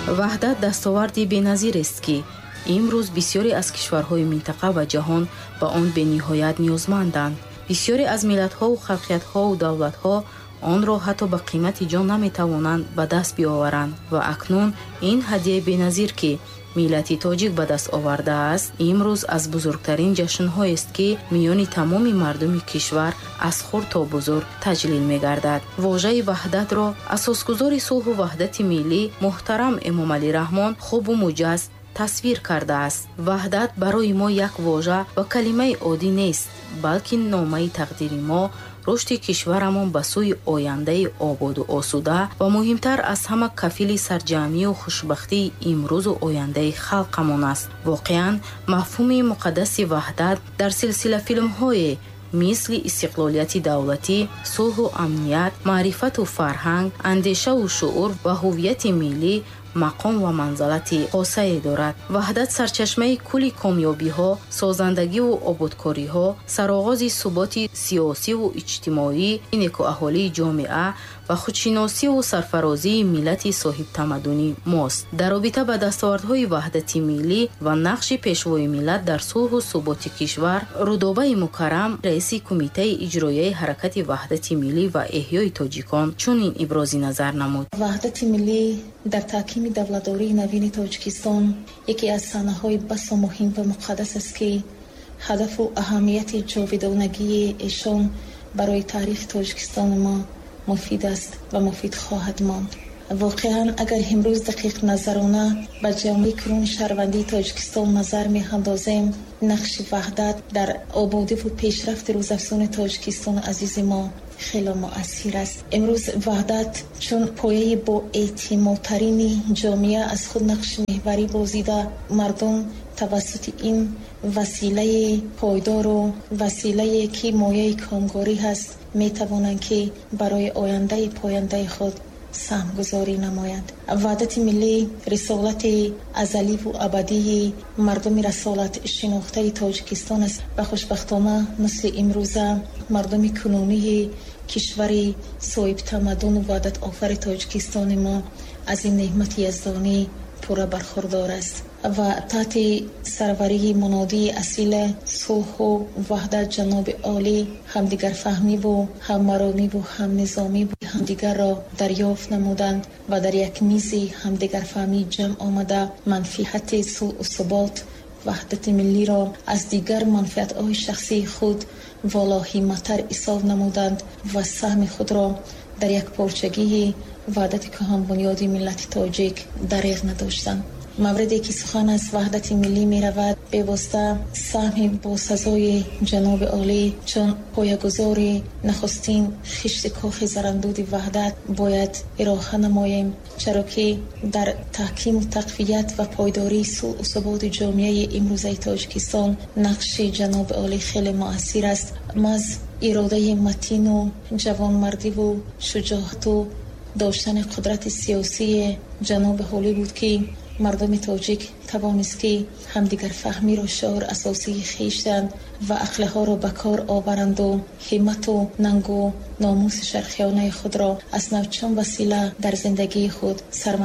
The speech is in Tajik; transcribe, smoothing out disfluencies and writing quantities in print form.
Ваҳдат дастоварди беназирест, ки имрӯз бисёре аз кишварҳои минтақа ва ҷаҳон ба он бениҳоят ниёзманданд. Бисёре аз миллатҳову халқиятҳову давлатҳо онро ҳатто ба қимати ҷон наметавонанд ба даст биоваранд. Ва акнун ин ҳадияи беназир, ки миллати тоҷик ба даст овардааст, имрӯз аз бузургтарин ҷашнҳоест, ки миёни тамоми мардуми кишвар аз хурд то бузург таҷлил мегардад. Вожаи ваҳдатро асосгузори сулҳу ваҳдати миллӣ муҳтарам Эмомалӣ Раҳмон хубу муҷазз тасвир кардааст. Ваҳдат барои мо як вожа ва калимаи оддӣ нест, балки номаи тақдири мо, рушди кишварамон ба сӯи ояндаи ободу осуда ва муҳимтар аз ҳама, кафили сарҷамъию хушбахтии имрӯзу ояндаи халқамон аст. Воқеан, мафҳуми муқаддаси ваҳдат дар силсилафилмҳое мисли истиқлолияти давлатӣ, сулҳу амният, маърифату фарҳанг, андешаву шуур ва ҳуввияти миллӣ мақом ва манзалати хосае дорад. Ваҳдат сарчашмаи кулли комёбиҳо, созандагиву ободкориҳо, сароғози суботи сиёсиву иҷтимоӣ, некуаҳолии ҷомеа ва худшиносиву сарфарозии миллати соҳибтамаддуни мост. Дар робита ба дастовардҳои ваҳдати миллӣ ва нақши пешвои миллат дар сулҳу суботи кишвар, Рудобаи Мукаррам, раиси Кумитаи иҷроияи Ҳаракати ваҳдати миллӣ ва эҳёи тоҷикон, чунин ибрози назар намуд. Ваҳдати миллӣ дар таҳкими давлатдории навини Тоҷикистон яке аз саҳнаҳои басо муҳим ва муқаддас аст, ки ҳадафу аҳамияти ҷовидонагии эшон барои таърихи Тоҷикистони мо муфид аст ва муфид хоҳад монд. Воқеан, агар имрӯз дақиқназарона ба ҷомеаи кунуни шаҳрвандии Тоҷикистон назар меандозем, нақши ваҳдат дар ободиву пешрафти рӯзафзуни Тоҷикистони азизи мо хеле муассир аст. Имрӯз ваҳдат чун пояи боэътимодтарини ҷомеа аз худ нақши меҳварӣ бозида, мардум тавассути ин василаи пойдору василае, ки мояи комгорӣ ҳаст, метавонанд, ки барои ояндаи пояндаи худ саҳмгузорӣ намоянд. Ваҳдати миллӣ рисолати азаливу абадии мардуми расолатшинохтаи Тоҷикистон аст ва хушбахтона мисли имрӯза мардуми кунунии кишвари соҳибтамаддуну ваҳдатофари Тоҷикистони мо аз ин неъмати яздонӣ пурра бархурдор аст ва таҳти сарварии мунодии асили сулҳу ваҳдат ҷаноби олӣ ҳамдигарфаҳмиву ҳаммаромиву ҳамнизомиву ҳамдигарро дарёфт намуданд ва дар як мизи ҳамдигарфаҳмӣ ҷамъ омада, манфиати сулҳу субот, ваҳдати миллиро аз дигар манфиатҳои шахсии худ волоҳиматтар ҳисоб намуданд ва саҳми худро дар якпорчагии ваҳдати кӯҳанбунёди миллати тоҷик дареғ надоштанд. Мавриде ки сухан аз ваҳдати миллӣ меравад, бевосита саҳми босазои ҷаноби олӣ чун поягузори нахустин хишти кохи зарандуди ваҳдат бояд ироҳа намоем, чаро ки дар таҳкиму тақвият ва пойдории сулҳу суботи ҷомеаи имрӯзаи Тоҷикистон нақши ҷаноби олӣ хеле муассир аст. Маҳз иродаи матину ҷавонмардиву шуҷоату доштани қудрати сиёсии ҷаноби олӣ буд, ки мардуми тоҷик тавонист, ки ҳамдигарфаҳмиро шиори асосии хештанд ва ақлиҳоро ба кор оваранду ҳиммату нангу номуси шарқиёнаи худро аз нав чун васила дар зиндагии худ сарма